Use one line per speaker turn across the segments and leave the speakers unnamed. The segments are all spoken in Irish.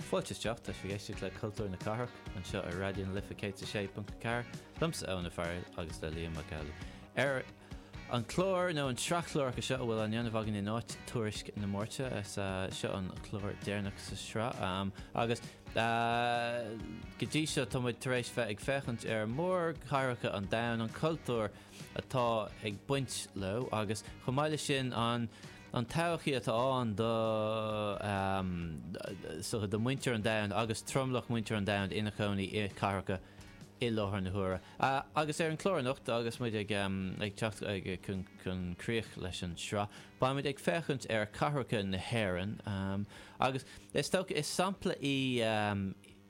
Fáilte isteach, tá sibh ag éisteacht le Cultúr na Cathrach anseo ar Raidió na Life 106.4, liomsa Eoin Ó Fearghail agus le Liam Mac Amhlaigh. Ar an chlár, nó an tsraith chláracha seo a bhfuil á ndéanamh againn in áit Tuairisc na Máirte, is seo an clár deireanach sa sraith agus go dtí seo tá muid tar éis bheith ag féachaint ar mhórchathracha an domhain, an cultúr atá ag baint leo agus chomh maith leis sin an an todhchaí atá ann do do mhuintir an domhain agus tromlach muintir an domhain ina chónaí i cathracha i láthair na huaire. Agus ar an chlár anocht agus muid ag ag teacht chun chun críoch leis an sraith, beidh muid ag féachaint ar cathracha na hÉireann agus is dócha is sampla í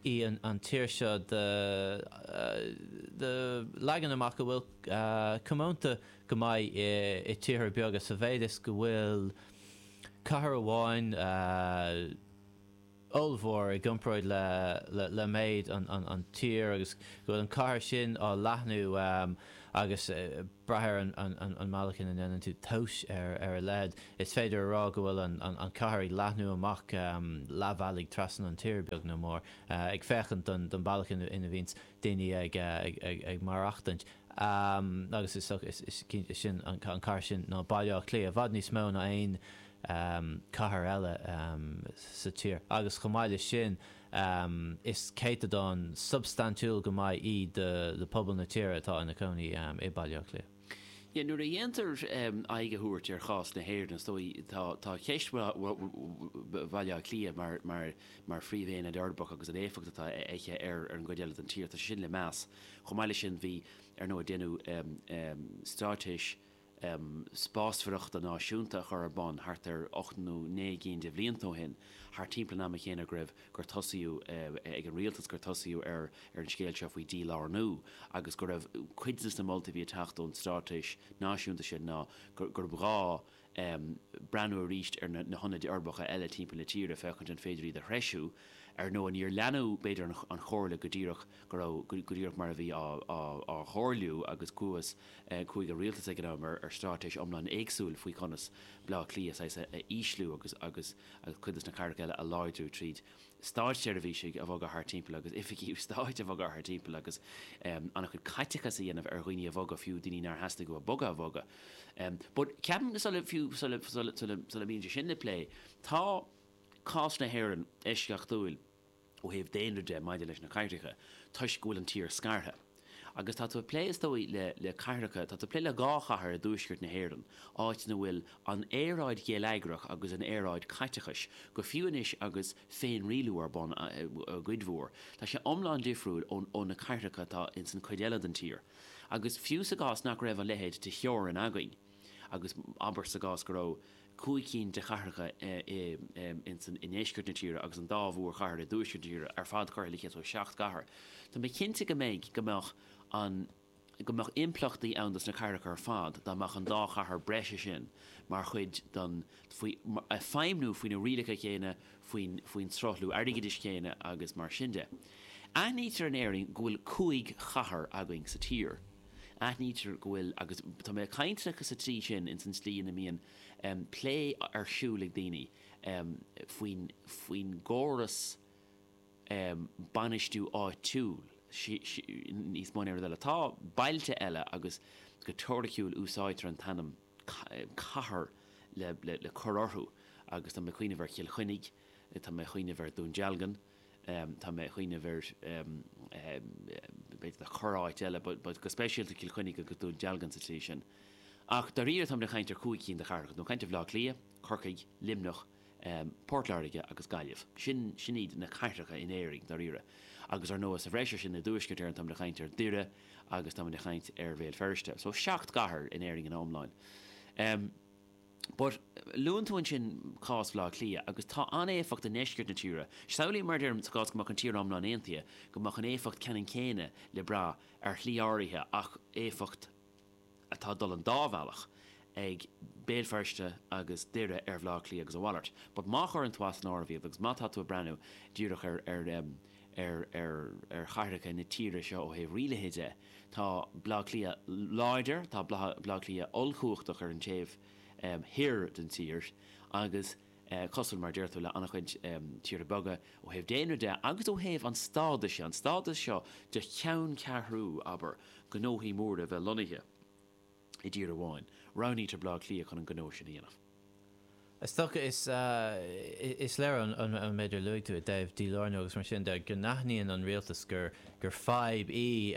í an tír seo de leagan amach a bhfuil comónta go maith i tíortha beaga sa mhéid is go bhfuil cathair amháin ollmhór i gcomparáid le méid an tír agus go bhfuil an cathair sin á leathnú agus brath ar an mbealach ina ndéanann tú tomhas ar a leithead, is féidir a rá go bhfuil an chathair ag leathnú amach leathbhealaigh trasna an tír, beag nó mór, ag féachaint don bealach ina bhíonns daoine ag maireachtaint. Agus is dócha, is cinnte, sin an cathair sin ná Baile Átha Cliath, i bhfad níos mó ná aon cathair eile sa tír. Agus chomh maith leis sin, Is céatadán substaintiúil go maith í de phobal na tíre atá ina cónaí i Baile Átha Cliath.
Yeah, nuair a dhéantar aghaidh a thabhairt ar chás na hÉireann, is dóigh, tá tá ceist Bhaile Átha Cliath mar mar mar phríomhaonad uirbeach agus an éifeacht atá aici ar ar an gcuid eile den tír, tá sé sin le meas. Chomh maith leis sin, bhí, ar ndóigh, déanadh straitéis spásmhaireachta náisiúnta a chur ar bun thart ar 8 nó 9 gcinn de bhlianta ó shin, thart timpeall an ama chéanna go raibh, gur tosaíodh ag an rialtas, gur tosaíodh ar ar an scéal seo faoi dhílárnú agus go raibh cuid de na moltaí a bhí ag teacht ón straitéis náisiúnta sin ná gurb ghá breathnú arís ar na hionaid uirbeacha eile timpeall na tíre féachaint an féidir iad a threisiú. Ar ndóigh, níor leanadh, b'fhéidir, an chomhairle go díreach go raibh, go díreach mar a bhí á chomhairliú agus chuathas, Chuaigh an rialtas ag an am ar straitéis iomlán éagsúil faoi chonas Baile Átha Cliath saghas a ísliú agus agus cuid de na cathracha eile a láidriú tríd státseirbhísigh a bhogadh thart timpeall agus oifigí stáit a bhogadh thart timpeall agus an-chuid caiteachas a dhéanamh ar dhaoine a bhogadh, fiú daoine nár theastaigh uathu bogadh a bhogadh. But ceapaim sula fiú sula sula sula sula mbíonn sé sin le plé, tá cás na hÉireann eisceachtúil. ó thaobh daonra de maidir leis na cathracha toisc go bhfuil an tír scartha. Agus tá tú ag plé, is dóigh, le, le cathracha, tá tú ag plé le dhá chathair i dtuaisceart na hÉireann, áit ina bhfuil an aeráid gheilleagrach agus an aeráid caiteachais, go fiú anois agus féinrialú ar bun i gcuid mhór, tá sé iomlán difriúil ó, ó na cathracha atá ins an chuid eile den tír. Agus fiú sa gcás nach raibh a leithéid de theorainn againn, agus abair sa gcás go raibh 5 cinn de chathracha i ndeisceart na tíre agus an dá mhórchathair i dtuaisceart na tíre ar fad curtha le chéile, so 7 gcathair. Tá mé cinnte go mbeidh, go mbeadh an, go mbeadh impleachtaí ann dos na cathracha ar fad dá mbeadh an dá chathair breise sin mar chuid den, faoi, ag feidhmniú faoi na rialacha céanna, faoin, faoin sruthlú airgeadais céanna agus mar sin de. Aithnítear in Éirinn go bhfuil 5 chathair againn sa tír. Aithnítear go bhfuil, agus tá mé ag caint sa tslí sin ins an tslí ina mbíonn plé ar siúl ag daoine faoin, faoin gcóras bainistiú áitiúil níos mó ná aon rud eile. Tá bailte eile agus go teoiriciúil úsáidtear an t-ainm cathair le, le, le cur orthu agus tá mé ag cuimhneamh ar Chill Chainnigh, tá mé ag cuimhneamh ar Dún Dealgan, Tá mé ag cuimhneamh ar, b'fhéidir do chorr-áit eile, but go speisialta Cill Chainnigh agus Dún Dealgan sa tslí sin. Ach dáiríre táimid ag caint ar chúig cinn de chathracha, tá mé ag caint ar Bhaile Átha Cliath, Corcaigh, Luimneach, Port Láirge agus Gaillimh. Sin, sin iad na cathracha in Éirinn, dáiríre. Agus ar ndóigh sa bhreis ar sin i dTuaisceart Éireann táimid ag caint ar Dhoire agus táimid ag caint ar Bhéal Feirste. So seacht gcathair in Éirinn ina iomláin. But, luann tú ansin cás Bhaile Átha Cliath, agus tá an-éifeacht i ndeisceart na tíre. Samhlaím, mar a deirim, sa gcás go mbeadh an tír iomlán aontaithe, go mbeadh an éifeacht ceannann céanna le brath ar shlí áirithe ach éifeacht atá ag dul an dá bhealach ag Béal Feirste agus Doire ar Bhaile Átha Cliath agus a mhalairt. But má chuireann tú as an áireamh iad agus má tá tú ag breathnú díreach ar ar ar ar ar chathracha na tíre seo ó thaobh rialaithe de, Tá Baile Átha Cliath láidir, tá Baile Átha Cliath ollchumhachtach ar an taobh thoir den tír agus. Cosúil, mar a deir tú, le an-chuid tíortha beaga ó thaobh daonra de agus ó thaobh an stádais, an stádas seo de cheanncheathrú, abair, gnóthaí móra a bheith lonnaithe i dtír amháin, roghnaítear Baile Átha Cliath chun an gnó sin a dhéanamh.
Is dócha, is is léir ón méid ar luaigh tú i dtaobh dílárnú agus mar sin de go n-aithníonn an rialtas gur gur fadhb í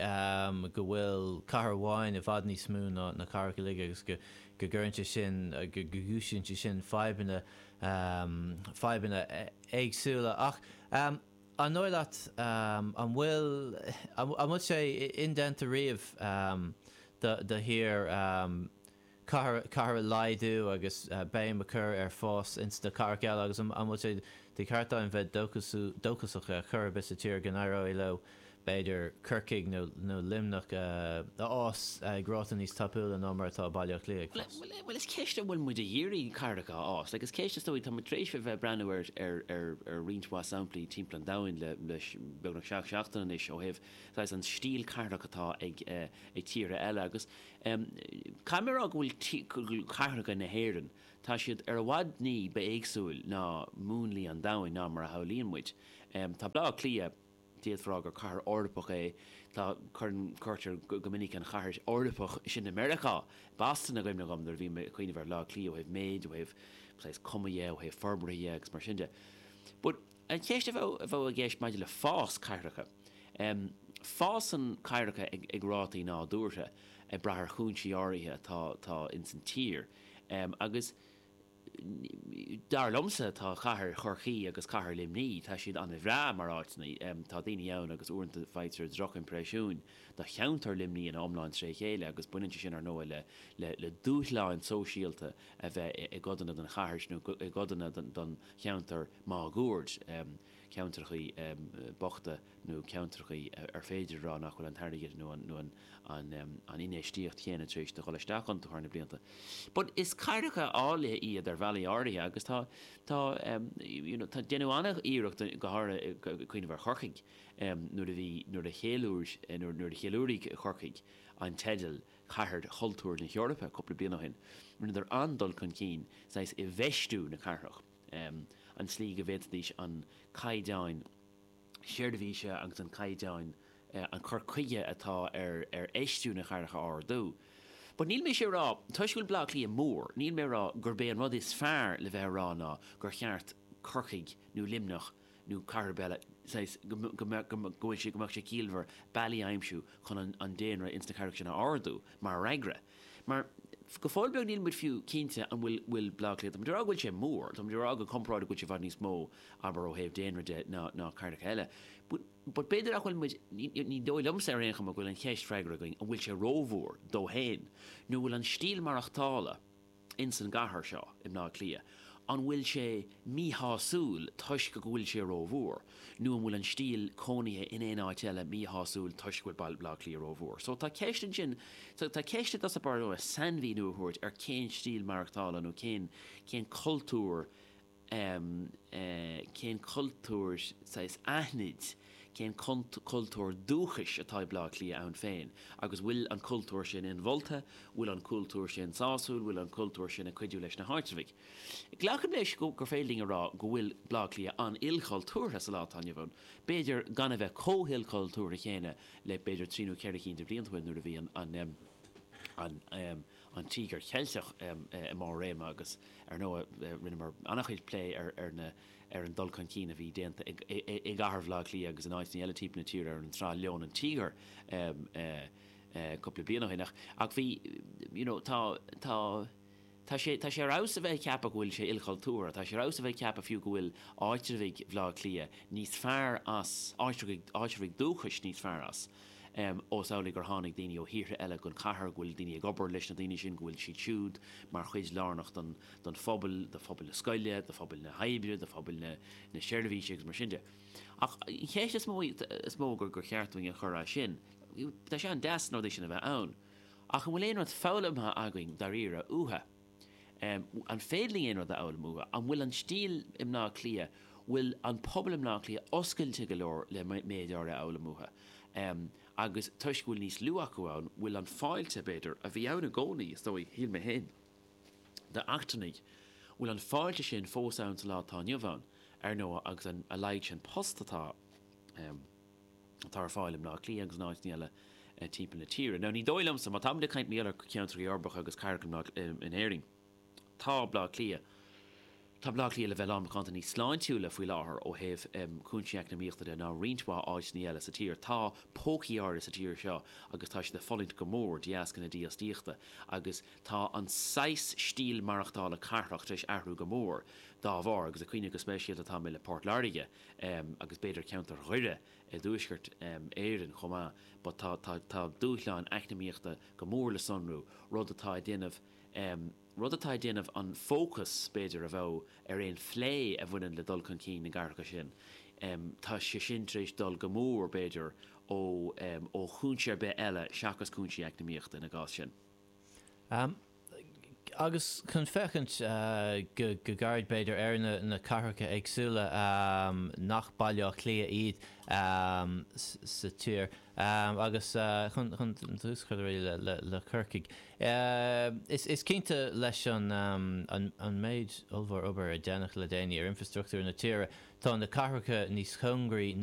go bhfuil cathair amháin i bhfad níos mó ná na cathracha uilig agus go go gcuireann sé sin, go gcúisíonn sé sin fadhbanna, fadhbanna éagsúla. Ach an dóigh leat, an bhfuil, an bhfuil sé indéanta riamh do do thír cathair, cathair a laghdú agus béim a chur ar fás ins na cathracha eile agus an bhfuil sé de cheart againn bheith dóchasach ar chor ar bith sa tír go n-éireoidh leo b'fhéidir Corcaigh nó Luimneach a fhás ag ráta níos tapúla ná mar atá Baile Átha Cliath ag fás?
Bhuel, is ceist an bhfuil muid ag iarraidh cathracha a fhás. Like, is ceist, is dóigh, tá muid tar éis a bheith ag breathnú ar, ar, ar, ar roinnt mhaith samplaí timpeall an domhain le, le beagnach seacht seachtaine anois ó thaobh saghas an stíl cathrach atá ag, ag tíortha eile agus caithfidh mé a rá go bhfuil, go bhfuil cathracha na hÉireann, tá siad ar i bhfad ní ba éagsúil ná múnlaí an domhain ná mar a shamhlaíonn muid. Tá Baile Átha Cliath, D'fhéadfá a rá gur cathair Eorpach é. Tá, cuireann, cuirtear go minic an chathair Eorpach sin i Meiriceá, Boston i gcuimhne dhom nuair a bhím ag cuimhneamh ar Bhaile Átha Cliath ó thaobh méid, ó thaobh saghas cuma dhe, ó thaobh forbartha dhe agus mar sin de. But an cheist a bheadh, a bheadh i gceist maidir le fás cathracha, em, fásann cathracha ag, ag rátaí nádúrtha ag brath ar chúinsí áirithe atá, atá ins an tír. Em, agus. Dar liomsa, tá cathair Chorcaí agus cathair Luimní, tá siad an-bhreá mar áiteanna. Tá daoine ann agus uaireanta faightear drochimpreisiúin do cheantar Luimní ina iomlán tré chéile agus baineann sé sin, ar ndóigh, le le dúshláin sóisialta a bheith i gcodanna den chathair nó i gcodanna den cheantar máguaird, ceantrachaí bochta. nó ceantrachaí ar féidir a rá nach bhfuil an t-airgead nó an infheistíocht chéanna tar éis do dhul isteach iontu thar na blianta. But is cathracha áille iad ar bhealaí áirithe agus tá, tá, you know, tá, déanadh an-iarracht go háirithe ag cuimhneamh ar Chorcaigh nuair a bhí, nuair a cheiliúir, nuair a cheiliúraigh Corcaigh an teideal Cathair Chultúir na hEorpa cúpla bliain ó shin, rinneadar an-dul chun cinn saghas i bhfeistiú na cathrach, an tslí go bhféadfaidís an caighdeán, seirbhíse agus an caighdeán, an cur chuige atá ar ar fheistiú na cathrach a ardú. But níl mise ag rá, toisc go bhfuil Baile Átha Cliath mór, níl mé ag rá gurb é an rud is fearr le bheith a rá ná gur cheart Corcaigh nó Luimneach nó cathair ar bith eile, saghas, go go mbeadh go bhfuil sé go mbeadh sé ciallmhar bealaí a aimsiú chun an an daonra ins na cathracha sin a ardú mar fhreagra. Mar go fóill beag níl muid fiú cinnte an bhfuil bhfuil Baile Átha Cliath, tá muid ag rá go bhfuil sé mór, tá muid ag rá go comparáid go bhfuil sé i bhfad níos mó abair ó thaobh daonra de ná ná cathracha eile. But but b'fhéidir nach bhfuil muid, ní ní dóigh liomsa ar aon chuma go bhfuil an cheist freagartha againn an bhfuil sé rómhór dó féin nó bhfuil an stíl maireachtála ins an gcathair seo i mBleá Cliath, an bhfuil sé míshásúil toisc go bhfuil sé rómhór, nó an bhfuil an stíl cónaithe in aon áit eile míshásúil toisc go bhfuil Baile Átha Cliath rómhór? So tá ceist ansin, tá ceist i dtosach báire sainmhíniú a thabhairt ar cén stíl maireachtála nó cén, cén cultúr, cén cultúr saghas aithnid, cén cultúr dúchais atá ag Baile Átha Cliath ann féin agus bhfuil an cultúr sin inmholta, bhfuil an cultúr sin sásúil, bhfuil an cultúr sin ag cuidiú leis na háitreabhaigh. Glacaim leis gur féidir linn a rá go bhfuil Baile Átha Cliath an-ilchultúrtha sa lá atá inniu ann, b'fhéidir gan a bheith chomh hilchultúrtha chéanna le b'fhéidir trí nó ceithre cinn de bhlianta ó shin nuair a bhí an an an Tíogar Cheilteach i mbarr réime agus, ar ndóigh, rinneamar an-chuid plé ar ar na ar an dul chun cinn a bhí déanta i i gcathair Bhaile Átha Cliath agus in áiteanna eile timpeall na tíre ar an tsraith Leon an Tíogar cúpla bliain ó shin. Ach ach bhí, you know, tá tá tá sé tá sé ar fheabhas a bheith ag ceapadh go bhfuil sé ilchultúrtha, tá sé ar fheabhas a bheith ag ceapadh fiú go bhfuil áitreabhaigh Bhaile Átha Cliath níos fearr as, áitreabhaigh áitreabhaigh dúchais níos fearr as. Ós amhlaidh gur tháinig daoine ó thíortha eile gon chathair, go bhfuil daoine ag obair leis na daoine sin, go bhfuil siad siúd mar chuid lárnach don don phobal, do phobal na scoile, do phobal na hoibre, do phobal na na seirbhíse agus mar sin de. Ach an cheist is mó is mó gur gur cheart dúinn a chur as sin, tá sé an-deas na rudaí sin a bheith ann, ach an bhfuil aon rud foghlamtha againn dáiríre uathu? An féidir linn aon rud a fhoghlaim uathu? An bhfuil an stíl i mBleá Cliath, bhfuil an pobal i mBleá Cliath oscailte go leor le méid áirithe a fhoghlaim uathu? Agus toisc go bhfuil níos lú acu ann, bhfuil an fáilte, b'fhéidir, a bhí ann i gcónaí, is dóigh, shíl mé féin, d'eachtrannaigh, Bhfuil an fáilte sin fós ann sa lá atá inniu ann, ar ndóigh, agus an a laghad sin post atá atá ar fáil i mBleá Cliath agus in áiteanna eile timpeall na tíre. Now ní dóigh liomsa, má táimid ag caint mar gheall ar cheantracha uirbeacha agus cathracha in Éirinn, Tá Bleá Cliath Tá Bleá Cliath le bheith lán macánta níos sláintiúla faoi láthair ó thaobh cúinsí eacnamaíochta de ná roinnt mhaith áiteanna eile sa tír. Tá pócaí áirithe sa tír seo agus tá siad ag fulaingt go mór de dheasca na dífhostaíochta agus tá an saghas stíl maireachtála cathrach tar éis athrú go mór dá bharr agus ag cuimhneamh go speisialta atá mé le Port Láirge agus b'fhéidir ceantar Dhoire i dTuaisceart Éireann chomh maith but tá tá tá dúshláin eacnamaíochta go mór le sonrú, rud atá ag déanamh rud atá ag déanamh an fócas, b'fhéidir, a bheadh ar aon phlé a bhaineann le dul chun cinn na gcathracha sin, tá sé sin tar éis dul go mór, b'fhéidir, ó ó chúinse ar bith eile seachas cúinsí eacnamaíochta ina gcás sin.
Agus chun féachaint go gairid, b'fhéidir, ar na cathracha éagsúla nach Baile Átha Cliath iad sa tír, agus chun tús a chur le Corcaigh, is cinnte leis an méid ollmhór obair a déanadh le déanaí ar infreastruchtúr na tíre, tá na cathracha níos cóngaraí ná.